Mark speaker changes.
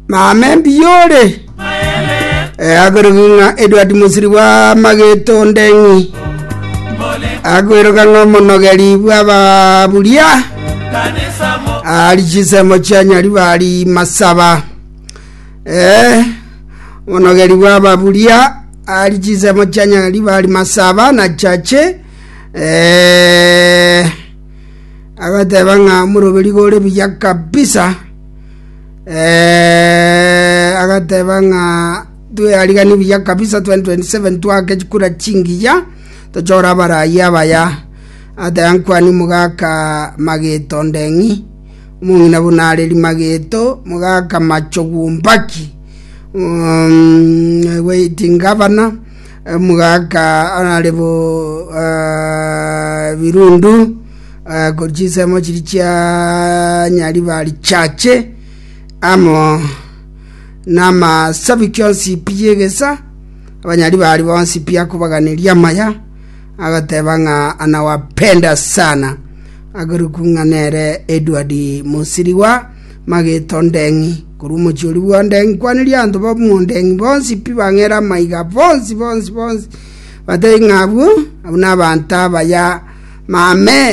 Speaker 1: Mame mbuya ore? Eh, akorokwa ng'a Edward Musiri bwa Mageto Ndeng'i. Akweroka ng'a omonogeri bw'ababuria ari chisemo chia Nyaribari Masaba. Eh, omonogeri bw'ababuria ari chisemo chia Nyaribari Masaba na Chache. Eh, agateba ng'a omoroberi gore buya kabisa. Eh, agateba ng'a twearigani buya kabisa 2027 twake chikura chingiya tochore abarayi abaya ateba nkwani mogaka mageto ndeng'i omong'ina buna areri mageto mogaka machogumbaki um, waiting governor omogaka honorable uh, birundu uh, korwa chinsemo chiria chia nyaribari chache amo namasabiki onsi pi y'egesa abanyaribari bonsi pi akobaganeria amaya agateba ng'a anawapenda sana akorokwa ng'a nere Edward Musiriwa Mageto Ndeng'i korwa omochie oria bwa Ndeng'i kwaneria abanto ba Mondeng'i bonsi pi bang'ere amaiga bonsi bonsi bonsi batebie ng'a abwo abwo nabanto abaya mame.